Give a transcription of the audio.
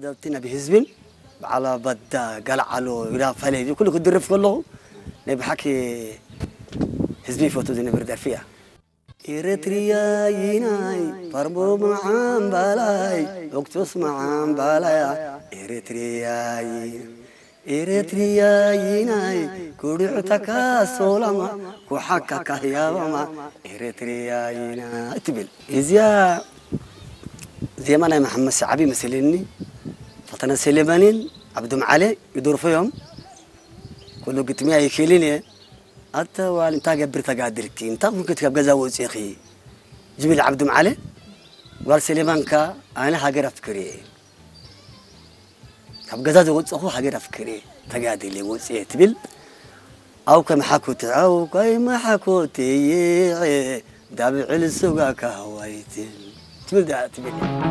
ደብቲ ናብ ህዝብን በዓል ኣባዳ ጋልዓሎ ይዳ ፈለይ ኩሉ ክድርፍ ከለኹ ናይ ብሓቂ ህዝቢ ይፈቱ ዝነብር ደርፊ እያ። ኤረትርያይናይ ፋርቦ መዓምባላይ ኦክቶስ መዓምባላያ ኤረትርያይ ኤረትርያይናይ ኩዱዕታካ ሶላማ ኩሓካካ ህያባማ ኤረትርያይና ትብል እዚያ ዜማ ናይ መሓመድ ሰዓቢ መሰለኒ። ፈተነ ሰሌማንን ዓብዱ መዓለ ይደርፎ እዮም። ኩሉ ግጥሚ ኣይክእልን እየ። ኣተ ዋል እንታይ ገብር ተጋድልኪ እንታይ ኩንክት ካብ ገዛ ወፂኺ ዝብል ዓብዱ መዓለ ጓል ሰሌማንካ ኣነ ሃገር ኣፍክር እየ ካብ ገዛ ዝወፀኹ ሃገር ኣፍክር እየ ተጋድል እየ ወፅየ ትብል። ኣው ከም ሓኩት ኣው ከም ሓኩት ይዕ ዳብዕል ስጋካ ዋይት ትብል ዳ ትብል።